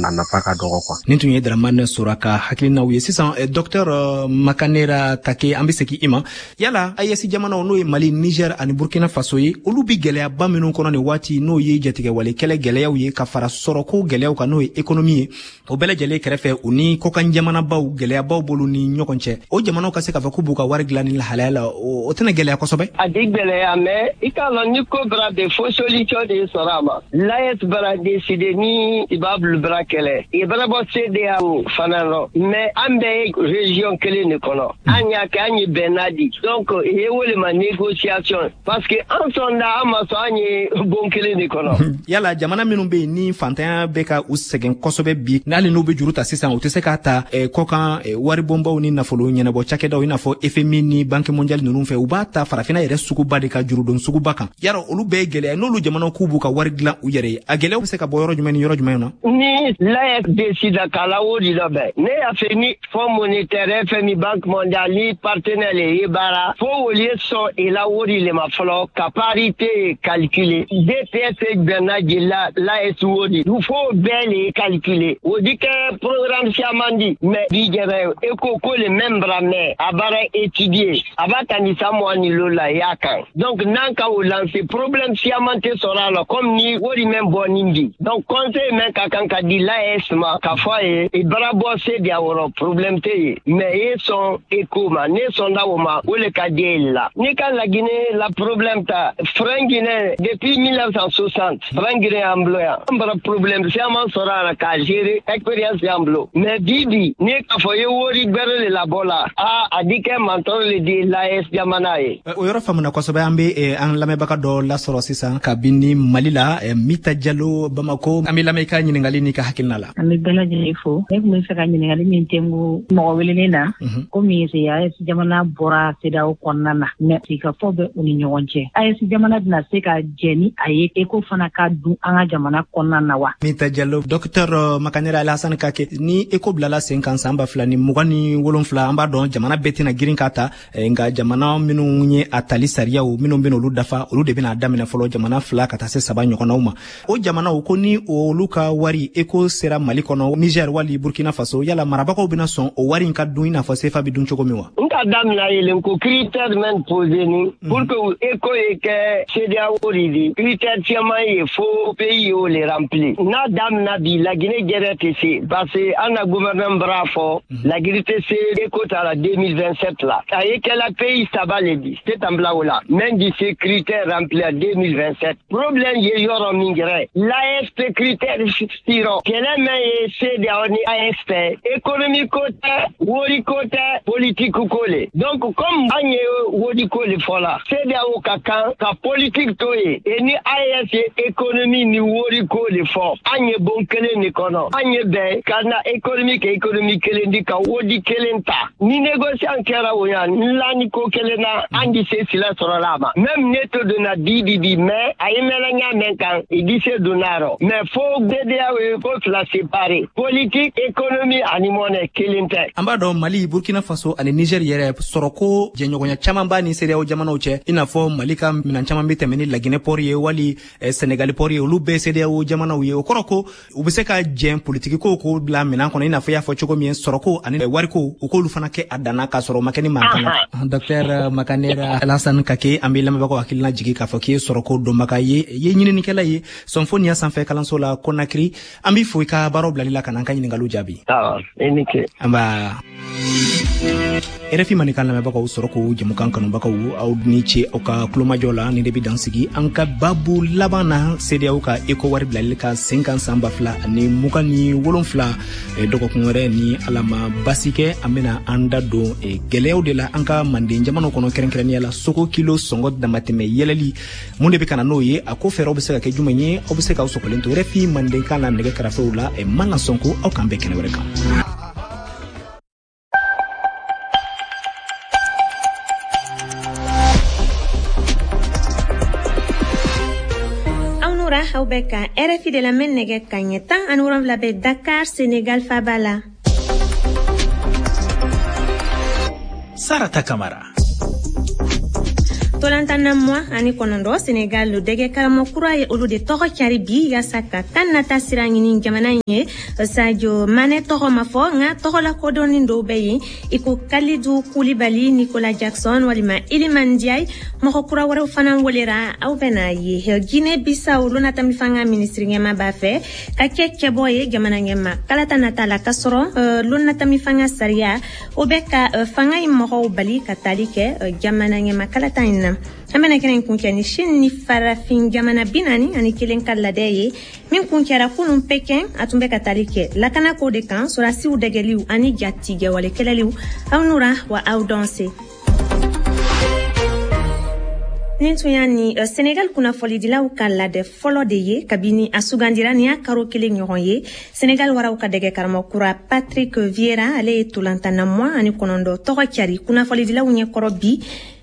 A nafa ka dɔgɔ quoi. Nin tun ye Dramane Sora ka hakilinaw ye. Sisan, docteur Makanera Kake, an bɛ segin i ma. Yala AES jamanaw, n'o ye Mali, Niger ani Burkina Faso ye, olu bi gɛlɛyaba minnu kɔnɔ nin waati, n'o ye jatigɛwale kɛlɛ gɛlɛyaw ye ka fara sɔrɔko gɛlɛyaw kan, n'o ye économie ye, o bɛɛ lajɛlen kɛrɛfɛ, u ni kɔkan jamanabaw gɛlɛyabaw b'olu ni ɲɔgɔn cɛ, o jamanaw ka se k'a fɔ k'u b'u ka wari dilan ni lahalaya la, o tɛna gɛlɛya kosɛbɛ? A di gɛlɛya, mais i k'a lɔn, ni ko bara de, fo solution de sɔrɔ a ma. L'AES bara décider ni i b'a bulu bara kɛlɛ, i bara bɔ CEDEAO fana rɔ, mais an bɛɛ ye région kelen de kɔnɔ. An y'a kɛ, an ye bɛnna di, donc i ye wele ma négociation, parce que an sɔnda, an ma sɔn, an ye bon kelen de kɔnɔ. Yala jamana minnu bɛ yen ni fantanya bɛ ka u sɛgɛn kosɛbɛ bi, n'hali n'u bɛ juru ta sisan, u tɛ se k'a ta kɔkan waribonbaw ni nafolo ɲɛnabɔ cakɛdaw, i n'a fɔ FMI ni Banque mondiale ninnu fɛ, u b'a ta farafinna yɛrɛ suguba de ka jurudon suguba kan. Yala olu bɛɛ ye gɛlɛya? N'olu jamanaw k'u b'u ka wari dilan u yɛrɛ ye, a gɛlɛyaw bɛ se ka bɔ yɔrɔ jumɛn ni yɔrɔ jumɛn na? Ni l'AES décide k'a la wori dɔ bɛn, ne y'a fɛ ni Fonds monétaire, FMI, Banque mondiale ni partenaire le ye baara, fo wolu ye sɔn i la wori le ma fɔlɔ ka parité calculer. DTS gbɛnna jeli la, l'AES wori, fo bɛɛ le ye calculer. O di kɛ programme siaman di, mais bi jɛrɛ ECO ko le même bara mɛn a baara étudier, a b'a ta ni san 25 la i y'a kan. Donc n'an ka o lancer, problème siaman tɛ sɔrɔ a la, comme ni wori mɛn bɔ nin di. Donc conseil mɛn ka kan ka di l'AES ma k'a fɔ a ye, i bara bɔ CEDEAO rɔ, problème tɛ yen, mais i ye sɔn ECO ma, ne sɔnda o ma, o le ka di e la. N'i ka Laginɛ la problème ta, franc Guinée, depuis 1960 franc Guinée y'an bolo yan, an bara problème siaman sɔrɔ a la k'a gérer, expérience y'an bolo. Mais bi bi n'i k'a fɔ i ye wori gbɛrɛ le labɔ la, a a di kɛ mantɔrɔ le di l'AES jamana ye. O yɔrɔ faamuna kosɛbɛ. An bɛ an lamɛnbaga dɔ lasɔrɔ sisan kabini Mali la, Mita Jalo, Bamako. An bɛ lamɛn, i ka ɲininkali n'i ka hakilina la. An bɛ bɛɛ lajɛlen fo. Ne tun bɛ fɛ ka ɲininkali min tɛnku mɔgɔ welelen na, komi AES jamana bɔra CEDEAO kɔnɔna na, mais sigikafɔ bɛ u ni ɲɔgɔn cɛ, AES jamana bɛna se ka jɛ ni a ye ECO fana ka dun an ka jamana kɔnɔna na wa? Mita Jalo. Docteur Makanera Alhassane Kake, ni ECO bilala sen kan san 2027, an b'a dɔn jamana bɛɛ tɛna girin k'a ta, nka jamana minnu ye a tali sariyaw minnu bɛna olu dafa, olu de bɛna daminɛ fɔlɔ, jamana fila ka taa se saba ɲɔgɔnnaw ma. O jamanaw ko ni olu ka wari ECO sera Mali kɔnɔ, Niger wali Burkina Faso, yala marabagaw bɛna sɔn o wari in ka dun i n'a fɔ CFA bɛ dun cogo min wa? N ka daminɛ yelen ko critère mɛn posé ni pour que ECO ye kɛ CEDEAO de di, critère caman ye, fo pays y'o le remplir. N'a daminɛ bi, Laginɛ jɛrɛ tɛ se, parce que an na gouvernement bara fɔ Laginɛ tɛ se ECO ta la 2027 la. A ye kɛla pays saba le di tɛ tan bila o la même di se critère rempli à 2027. Problème ye yɔrɔ min yɛrɛ, l'AES tɛ critère sirɔ. Kɛlɛ mɛn ye CEDEAO ni AES fɛ, économie ko tɛ, wori ko tɛ, politique ko le. Donc comme an ye wori ko le fɔ la, CEDEAO ka kan ka politique to yen, et ni AES ye économie ni wori ko le fɔ, an ye bon kelen de kɔnɔ, an ye bɛn ka na économie kɛ économie kelen di ka wodi kelen ta. Ni négociation kɛra o yan nla ni ko kelen na, an di se sila sɔrɔ la a ma. Même ne to donna bi bi bi, mais a ye mɛnna ɲa mɛn kan, i di se donna rɔ, mais fo CEDEAO ye ko fila séparé, politique, économie ani monnaie kelen tɛ. An b'a dɔn Mali, Burkina Faso ani Niger yɛrɛ, sɔrɔko jɛɲɔgɔnya caman b'a ni CEDEAO jamanaw cɛ, i n'a fɔ Mali ka minan caman bɛ tɛmɛ ni Laginɛ port ye wali Senegali port ye, olu bɛɛ CEDEAO jamanaw ye. O kɔrɔ ko u bɛ se ka jɛn politiki ko k'o bila minɛn kɔnɔ, i n'a fɔ i y'a fɔ cogo min, sɔrɔko ani wariko, u k'olu fana kɛ a danna k'a sɔrɔ o ma kɛ ni mankan na. Docteur Makanera Alhassane Kake, an bɛ lamɛnbagaw hakilina jigi k'a fɔ k'i ye sɔrɔko dɔnbaga ye, i ye ɲininikɛla ye Sɔnfoniya sanfɛ kalanso la Conakry. An b'i fo i ka baaraw bilali la ka n'an ka ɲininkaliw jaabi. Awɔ, i ni ce. Nba. RFI Mandenkan lamɛnbagaw, sɔrɔ ko jɛmukan kanubagaw, aw ni ce aw ka kulomajɔ la. Ni de bɛ dan sigi an ka babu laban na, CEDEAO ka ECO wari bilali ka sen kan san 2027. Dɔgɔkun wɛrɛ, ni Ala ma basi kɛ, an bɛna an da don gɛlɛyaw de la an ka manden jamanaw kɔnɔ, kɛrɛnkɛrɛnnenya la sogo kilo sɔngɔ damatɛmɛ yɛlɛli. Mun de bɛ ka na n'o ye? A ko fɛɛrɛw bɛ se ka kɛ jumɛn ye? Aw bɛ se k'aw sɔgɔlen to RFI Mandenkan na. Nɛgɛ karafew la, Mana Sɔnko. Aw k'an bɛn kɛnɛ wɛrɛ kan. Aw nura, aw bɛ ka RFI de lamɛn. Nɛgɛ kaɲɛ 17 bɛ Dakar, Senegal faba la. Sarata Kamara. Tolantanna 29, Senegal dɛgɛ karamɔgɔ kura ye olu de tɔgɔ cari bi yaasa ka kan nata sira ɲini jamana in ye. Sadio Mane tɔgɔ ma fɔ, nka tɔgɔ lakodɔnni dɔw bɛ yen i ko Kalidou Koulibaly, Nicolas Jackson walima Iliman Ndiaye. Mɔgɔ kura wɛrɛw fana welera, aw bɛna ye. Guinée Bissau lonatami fanga minisiri ɲɛma b'a fɛ ka kɛ cɛbɔ ye jamana ɲɛma kalata nata la, k'a sɔrɔ lonatami fanga sariya o bɛ ka fanga in mɔgɔw bali ka tali kɛ jamana ɲɛma kalata in na. An bɛna kɛnɛ in kuncɛ ni Chine ni farafin jamana 41 ka ladɛ ye min kuncɛra kunun Pekin. A tun bɛ ka tali kɛ lakanako de kan, sɔrɔdasiw dɛgɛliw ani jatigɛwale kɛlɛliw. Aw nura wa aw dɔn se. Nin tun y'a ni Senegal kunnafonidilaw ka ladɛ fɔlɔ de ye kabini a sugandira. Nin y'a karo kelen ɲɔgɔn ye. Senegal waraw ka dɛgɛ karamɔgɔ kura Patrick Vieira, ale ye tolantanna 29 tɔgɔ cari kunnafonidilaw ɲɛkɔrɔ bi,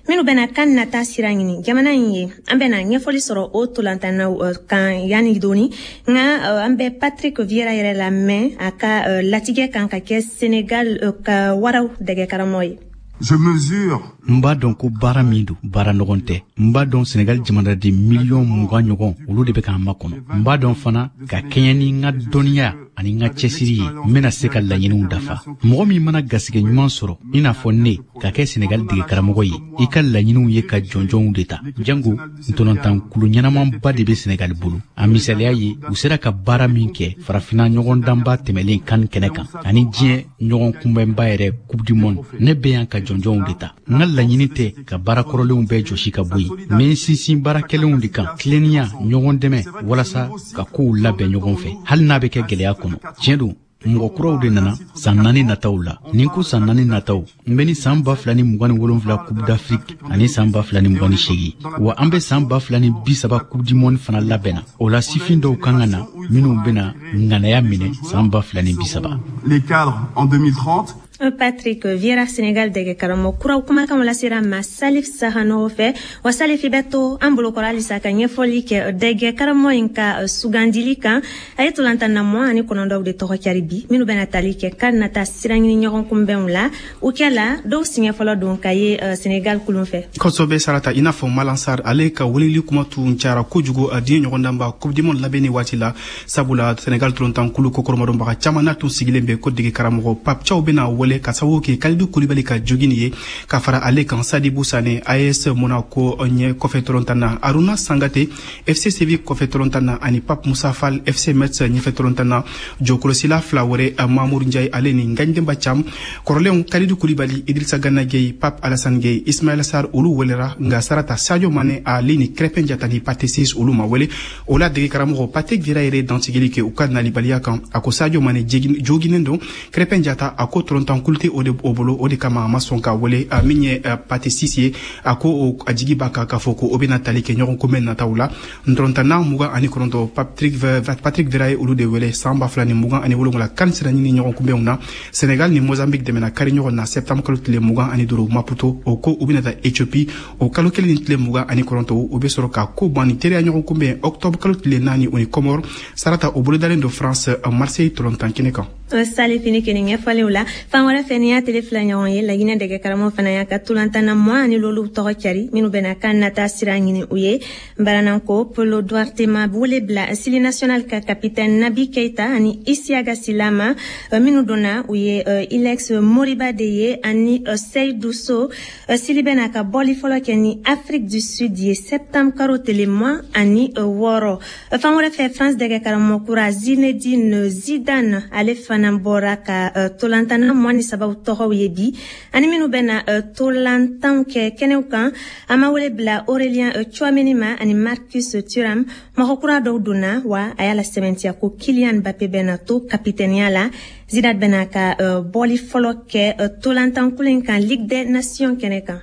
minnu bɛna kan nata sira ɲini jamana in ye. An bɛna ɲɛfɔli sɔrɔ o tolantannaw kan yanni doni, nka an bɛ Patrick Vieira yɛrɛ lamɛn a ka latigɛ kan ka kɛ Senegal ka waraw dɛgɛ karamɔgɔ ye. Je mesure. N b'a dɔn ko baara min don, baara nɔgɔn tɛ. N b'a dɔn Senegal jamanaden miliyɔn 20 ɲɔgɔn, olu de bɛ k'an makɔnɔ. N b'a dɔn fana, ka kɛɲɛ ni n ka dɔnniya ani n ka cɛsiri ye, n bɛna se ka laɲiniw dafa. Mɔgɔ min mana garisɛgɛ ɲuman sɔrɔ i n'a fɔ ne ka kɛ Senegal dege karamɔgɔ ye, i ka laɲiniw ye ka jɔnjɔnw de ta, jango ntolatankulu ɲɛnamanba de bɛ Senegal bolo. A misaliya ye, u sera ka baara min kɛ farafinna ɲɔgɔndanba tɛmɛlen kan kɛnɛ kan ani diɲɛ ɲɔgɔn kunbɛnba yɛrɛ, Coupe du monde. Ne bɛ yan ka jɔnjɔnw de ta. N ka laɲini tɛ ka baara kɔrɔlenw bɛɛ jɔsi ka bɔ yen. N bɛ n sinsin baara kɛlenw de kan: tilennenya, ɲɔgɔn dɛmɛ, walasa ka kow labɛn ɲɔgɔn fɛ, hali n'a bɛ kɛ gɛlɛya kɔnɔ. Tiɲɛ don, mɔgɔ kuraw de nana san 4 nataw la. Nin ko san 4 nataw, n bɛ ni san 2027 Coupe d'Afrique ani san 2028, wa an bɛ san 2030 Coupe du monde fana labɛnna. O la, sifin dɔw kan ka na minnu bɛna ŋanaya minɛ san 2030. Les cadres en 2030. Patrick Vieira, Senegal dɛgɛ karamɔgɔ kuraw kumakanw lasera ma Salif Sahanogo fɛ. Wa Salif, i bɛ to an bolokɔrɔ halisa ka ɲɛfɔli kɛ dɛgɛ karamɔgɔ in ka sugandili kan. A ye tolantanna 29 de tɔgɔ cari bi, minnu bɛna tali kɛ kan nata sira ɲini ɲɔgɔn kunbɛnw la. O kɛ la dɔw siɲɛ fɔlɔ don ka ye Senegal kulun fɛ. Kosɛbɛ Sarata, i n'a fɔ Malang Sarr, ale ka weleli kuma tun cayara kojugu a diɲɛ ɲɔgɔndanba Coupe du monde labɛnni waati la, sabula Senegal tolantankulu kokɔrɔmadonbaga caman n'a tun sigilen bɛ ko dege karamɔgɔ Pape Thiaw bɛna wele, ka sababu kɛ Kalidou Koulibaly ka jogini ye. Ka fara ale kan, Sadibou Sane, AS Monaco ɲɛ kɔfɛ tolontan na, Aruna Sangate, FC Séville kɔfɛ tolontan na, ani Pape Moussa Fall, FC Metz ɲɛfɛ tolontan na. Jɔkɔlɔsila fila wɛrɛ, Mamour Ndiaye ale ni Ngagne Demba Thiam. Kɔrɔlenw Kalidou Koulibaly, Idrissa Gana Gueye, Pape Alassane Gueye, Ismaïla Sarr, olu welera, nka Sarata, Sadio Mane ale ni Crépin Diatta ni Pathé Ciss, olu ma wele. O la, dege karamɔgɔ Patrick Vieira yɛrɛ dantigɛli kɛ u ka nalibaliya kan. A ko Sadio Mane joginen don. Crépin Diatta, a ko tolontankulu tɛ o de o bolo, o de kama a ma sɔn ka wele. Min ye Pathé Ciss ye, a ko a jigi b'a kan k'a fɔ ko o bɛna tali kɛ ɲɔgɔn kunbɛn nataw la. Ntolontanna 29, Patrick Vieira ye olu de wele san 2027 kan sira ɲini ɲɔgɔn kunbɛnw na. Senegal ni Mozambique dɛmɛna kari ɲɔgɔn na septembre kalo tile 25 Maputo. O ko u bɛna taa Ethiopie o kalo kelen ni tile 29. U bɛ sɔrɔ ka ko ban ni teriya ɲɔgɔn kunbɛn octobre kalo tile 4, o ni Comore. Sarata, o bolodalen don France, Marseille tolontan kɛnɛ kan. Salifini keni ɲɛfɔliw la. Fan wɛrɛ fɛ, ni y'a tele fila ɲɔgɔn ye, Laginɛ dɛgɛ karamɔgɔ fana y'a ka tolantanna mugan ani lolu tɔgɔ cari, minnu bɛna kan nata sira ɲini u ye. Barananko Polo Duarte ma wele bila Syli National ka capitaine Nabi Keita ani Isiaga Silama. Minnu donna, u ye Ilaix Moriba de ye ani Seydou So. Syli bɛna ka bɔli fɔlɔ kɛ ni Afrique du Sud ye septembre karo tele 26. Fan wɛrɛ fɛ, France dɛgɛ karamɔgɔ kura Zinedine Zidane, ale fana bɔra ka tolantanna 23 tɔgɔw ye bi ani minnu bɛna tolantanw kɛ kɛnɛw kan. A ma wele bila Aurélien Tchouameni ma ani Marcus Thuram. Mɔgɔ kura dɔw donna wa, a y'a la sɛbɛntiya ko Kylian Mbappé bɛna to kapitɛniya la. Zidane bɛna ka bɔli fɔlɔ kɛ tolantankulu in kan Ligue des Nations kɛnɛ kan.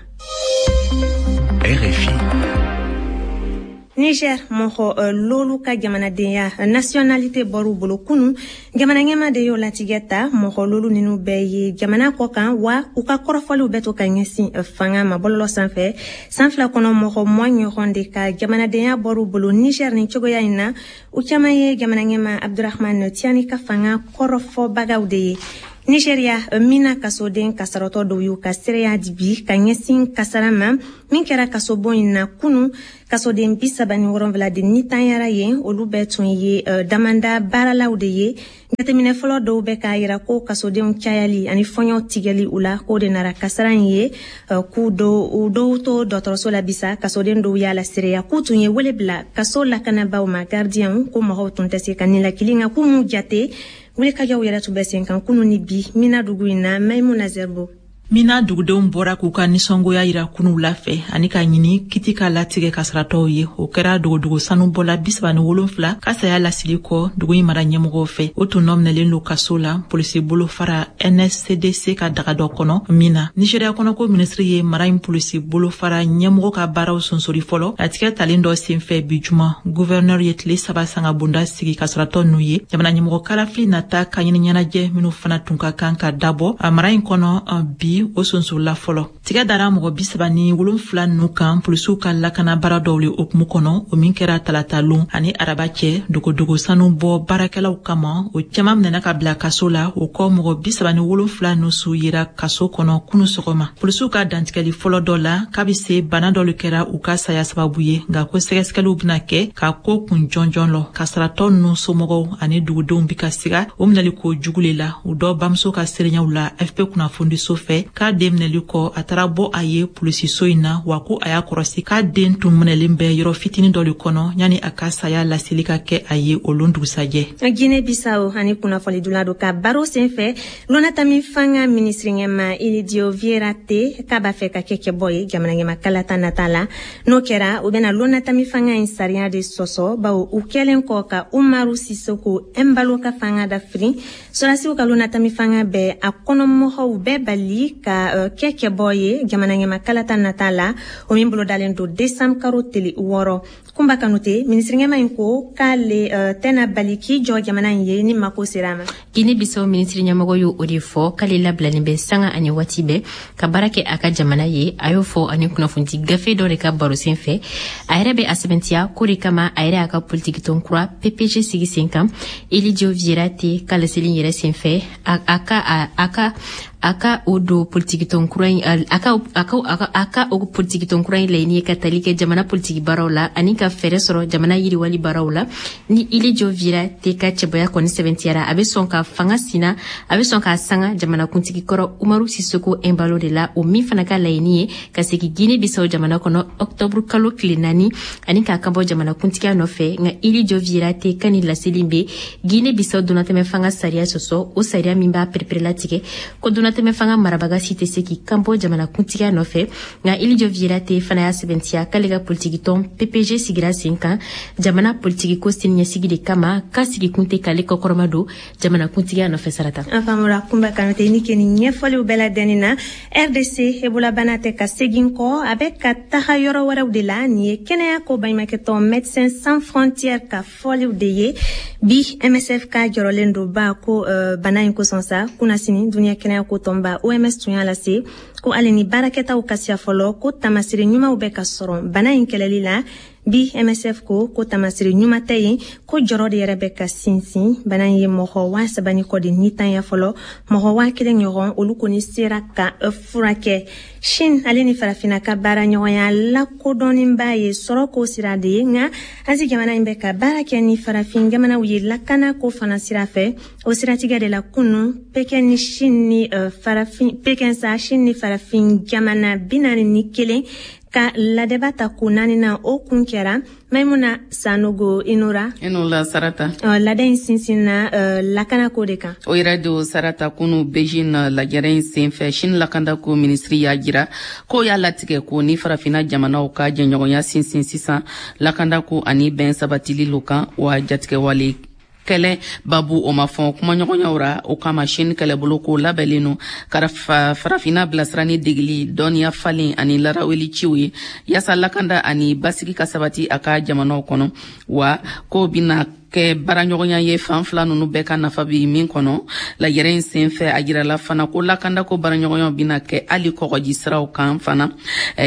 RFI. Niger mɔgɔ lolu ka jamanadenya, nationalité, bɔr'u bolo kunu. Jamana ɲɛma de y'o latigɛ ta. Mɔgɔ lolu ninnu bɛɛ ye jamana kɔ kan wa, u ka kɔrɔfɔliw bɛ to ka ɲɛsin fanga ma bɔlɔlɔ sanfɛ. San 2 kɔnɔ, mɔgɔ 20 ɲɔgɔn de ka jamanadenya bɔr'u bolo Niger nin cogoya in na. U caman ye jamana ɲɛma Abdurahman Tiani ka fanga kɔrɔfɔbagaw de ye. Nigeria, Mina kasoden kasaratɔ dɔw y'u ka seereya di bi ka ɲɛsin kasara ma min kɛra kasobon in na kunu. Kasoden 37 de nitanyara yen, olu bɛɛ tun ye damanda baaralaw de ye. Jateminɛ fɔlɔ dɔw bɛ k'a yira ko kasodenw cayali ani fɔɲɔw tigɛli u la, k'o de nara kasara in ye. K'u dɔw to dɔgɔtɔrɔso la bisa, kasoden dɔw y'a la seereya k'u tun ye wele bila kaso lakanabaw ma, gardienw, ko mɔgɔw tun tɛ se ka nilakili, nka k'u m'u jate. Wulikajɔw yɛrɛ tun bɛ sen kan kunu ni bi Mina dugu in na. Maimuna Zerbo. Mina dugudenw bɔra k'u ka nisɔngoya yira kunu wula fɛ ani ka ɲini kiti ka latigɛ kasaratɔw ye. O kɛra dogodogo sanubɔla 37 ka saya lasili kɔ dugu in mara ɲɛmɔgɔw fɛ. O tun nɔminɛlen don kaso la polisi bolofara NSCDC ka daga dɔ kɔnɔ Mina. Nigéria kɔnɔko minisiri ye mara in polisi bolofara ɲɛmɔgɔ ka baaraw sonsori fɔlɔ latigɛ talen dɔ senfɛ bi juma. Gouverneur ye tile 3 sangabonda sigi kasaratɔ n'u ye. Jamana ɲɛmɔgɔ kalafili nata ka ɲini ɲɛnajɛ minnu fana tun ka kan ka dabɔ a mara in kɔnɔ bi, o sonsola fɔlɔ. Tigɛ dara mɔgɔ 37 ninnu kan polisiw ka lakana baara dɔw le hukumu kɔnɔ, o min kɛra talatalon ani araba cɛ dogodogo sanu bɔ baarakɛlaw kama. O cɛman minɛna ka bila kaso la. O kɔ, mɔgɔ 37 ninnu su yera kaso kɔnɔ kunu sɔgɔma. Polisiw ka dantigɛli fɔlɔ dɔ la k'a bɛ se bana dɔ le kɛra u ka saya sababu ye, nka ko sɛgɛsɛgɛliw bɛna kɛ ka ko kun jɔnjɔn lɔ. Kasaratɔ ninnu somɔgɔw ani dugudenw bi ka siga o minɛli ko jugu le la. U dɔ bamuso ka seereyaw la AFP kunnafonidiso fɛ k'a den minɛli kɔ, a taara bɔ a ye polisiso in na, wa ko a y'a kɔrɔsi k'a den tun minɛlen bɛ yɔrɔ fitinin dɔ le kɔnɔ yanni a ka saya laseli ka kɛ a ye o lon dugusajɛ. Guinée Bissau ani kunnafonidula do ka baro senfɛ, Lonatami fanga minisiri ɲɛma Ilidio Vieira Té k'a b'a fɛ ka kɛ kɛbɔ ye jamana ɲɛma kalata nata la. N'o kɛra, u bɛna Lonatami fanga in sariya de sɔsɔ, bawo u kɛlen kɔ ka Umaru Sisoko Embalo ka fanga dafiri, sɔrɔdasiw ka Lonatami fanga bɛ a kɔnɔmɔgɔw bɛɛ bali ka kɛ kɛbɔ ye jamana ɲɛma kalata nata la, o min bolodalen don décembre karo tele 6. Kunba Kanute, minisiri ɲɛma in ko k'ale tɛna bali k'i jɔ jamana in ye ni mako sera a ma. Guinée Bissau minisiri ɲɛmɔgɔ y'o o de fɔ k'ale labilalen bɛ sanga ani waati bɛɛ ka baara kɛ a ka jamana ye. A y'o fɔ ani kunnafonidi gafe dɔ de ka baro sen fɛ. A yɛrɛ bɛ a sɛbɛntiya k'o de kama a yɛrɛ y'a ka politikitɔn kura PPG sigi sen kan. Elidio Vieira Té ka laseli yɛrɛ sen fɛ, a ka o don politikitɔn kura in, a ka o politikitɔn kura in laɲini ye ka tali kɛ jamana politiki baaraw la ani ka fɛɛrɛ sɔrɔ jamana yiriwali baaraw la. Ni Ilidio Vieira Té ka cɛbɔya kɔni sɛbɛntiyara, a bɛ sɔn ka fanga sina, a bɛ sɔn k'a sanga jamanakuntigi kɔrɔ Umaru Sisoko Embalo de la, o min fana ka laɲini ye ka segin Guinée Bissau jamana kɔnɔ octobre kalo tile 4 ani k'a kanbɔ jamanakuntigiya nɔfɛ. Nka Ilidio Vieira Té ka nin laseli bɛ Guinée Bissau donnatɛmɛ fanga sariya sɔsɔ, o sariya min b'a pereperelatigɛ ko donnatɛmɛ fanga marabaga si tɛ se k'i kanbɔ jamanakuntigiya nɔfɛ. Nka Ilidio Vieira Té fana y'a sɛbɛntiya k'ale ka politikitɔn PPG sigira sen kan jamana politikiko siniɲɛsigi de kama, k'a sigikun tɛ k'ale kɔkɔrɔma don jamanakuntigiya nɔfɛ. Sarata an faamura. Kunba Kanute, ni ke nin ɲɛfɔliw bɛɛ ladɛnni na. RDC, Ebola bana tɛ ka segin kɔ, a bɛ ka taga yɔrɔ wɛrɛw de la. Nin ye kɛnɛya ko baɲumankɛtɔn Médecins Sans Frontières ka fɔliw de ye bi. MSF ka jɔrɔlen don ba ko bana in kosɔn sa. Kunnasini, duniya kɛnɛya ko tɔnba OMS tun y'a lase ko hali ni baarakɛtaw ka siya fɔlɔ, ko tamasire ɲumanw bɛ ka sɔrɔ bana in kɛlɛli la. Bi, MSF ko tamasire ɲuman tɛ yen, ko jɔrɔ de yɛrɛ bɛ ka sinsin. Bana in ye mɔgɔ 3000 ni kɔ de nitanya fɔlɔ, mɔgɔ 1000 ɲɔgɔn olu kɔni sera ka furakɛ. Chine ale ni farafinna ka baara ɲɔgɔnya lakodɔnnenba ye sɔrɔ ko sira de ye, nka Asie jamana in bɛ ka baara kɛ ni farafin jamanaw ye lakana ko fana sira fɛ. O siratigɛ de la, kunu Pekin ni Chine ni farafin, Pekin sa, Chine ni farafin jamana 41 ka ladɛba ta ko naaninan, o kun kɛra. Maimuna Sanogo, Inora. Inola, Sarata. Ladɛ in sinsinna lakana ko de kan. O yɛrɛ don, Sarata. Kunu Beijing lajɛrɛ in senfɛ, Chine lakandako minisiri y'a jira k'o y'a latigɛ ko ni farafina jamanaw ka jɛɲɔgɔnya sinsin sisan lakandako ani bɛn sabatili lo kan, wa jatigɛwale kɛlɛ babu o ma fɔ kumaɲɔgɔnyaw ra. O kama, Chine kɛlɛbolo ko labɛnlen no ka farafina bilasira ni degeli, dɔnniya falen ani laraweli ciw ye, yaasa lakanda ani basigi ka sabati a ka jamanaw kɔnɔ, wa ko bina Kɛ baaraɲɔgɔnya ye fan fila nunu bɛɛ ka nafa bi min kɔnɔ. Lajɛrɛ in sen fɛ, a jirala fana ko lakandako baaraɲɔgɔnyaw bɛna kɛ hali kɔgɔji siraw kan fana.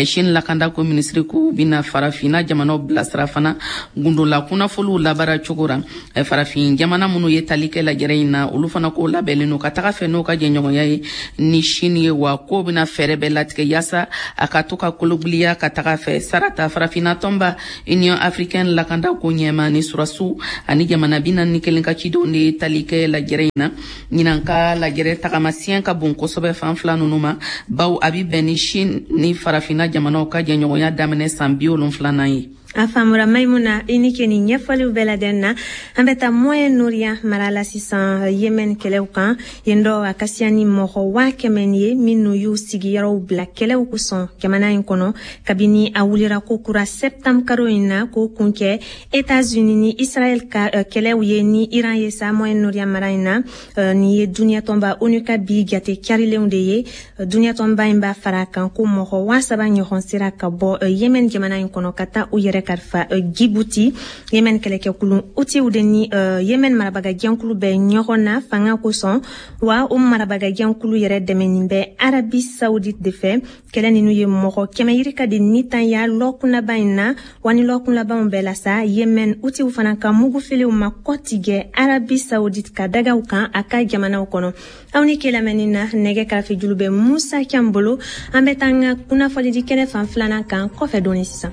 Chine lakandako minisiri ko bɛna Farafinna jamanaw bilasira fana gundola kunnafoliw labaara cogo ra. Farafin jamana minnu ye tali kɛ lajɛrɛ in na, olu fana k'o labɛnlen don ka taga fɛ n'o ka jɛɲɔgɔnya ye ni Chine ye, wa k'o bɛna fɛɛrɛ bɛɛ latigɛ yaasa a ka to ka kologiliya ka taga fɛ. Sarata, Farafinna tɔnba Union africaine lakandako ɲɛma ni surasiw ani jamana 41 ka cidenw de ye tali kɛ lajɛrɛ in na. Ɲinan ka lajɛrɛ tagamasiyɛn ka bon kosɛbɛ fan fila nunu ma, baw a bi bɛn ni Chine ni Farafinna jamanaw ka jɛɲɔgɔnya daminɛ san 70nan ye. A faamura, Maimuna, i ni ke nin ɲɛfɔliw bɛɛ ladɛn na. An bɛ taa Moyen-Orient mara la sisan, Yemen kɛlɛw kan. Yen dɔ, a ka siya ni mɔgɔ 100 000 ye minnu y'u sigiyɔrɔw bila kɛlɛw kosɔn jamana in kɔnɔ kabini a wulira ko kura septembre karo in na, k'o kun kɛ États-Unis ni Israël ka kɛlɛw ye ni Iran ye sa Moyen-Orient mara in na. Nin ye duniɲɛ tɔnba ONU ka bi jate carilenw de ye. Duniɲɛ tɔnba in b'a fara kan ko mɔgɔ 3000 ɲɔgɔn sera ka bɔ Yemen jamana in kɔnɔ ka taa u yɛrɛ kalifa Djibouti. Yemen kɛlɛkɛkulu Hutiw de ni Yemen marabagajɛnkulu bɛ ɲɔgɔn na fanga kosɔn, wa o marabagajɛnkulu yɛrɛ dɛmɛnin bɛ Arabie Saoudite de fɛ. Kɛlɛ ninnu ye mɔgɔ 100 yirika de nitanya lɔkun laban in na. Wa ni lɔkun labanw bɛɛ la sa, Yemen Hutiw fana ka mugufiliw ma kɔtigɛ Arabie Saoudite ka dagaw kan a ka jamanaw kɔnɔ. Aw ni ke lamɛnni na, nɛgɛ karafejulu bɛ Musa Can bolo. An bɛ taa an ka kunnafonidi kɛnɛ fan filanan kan kɔfɛ dɔɔni sisan.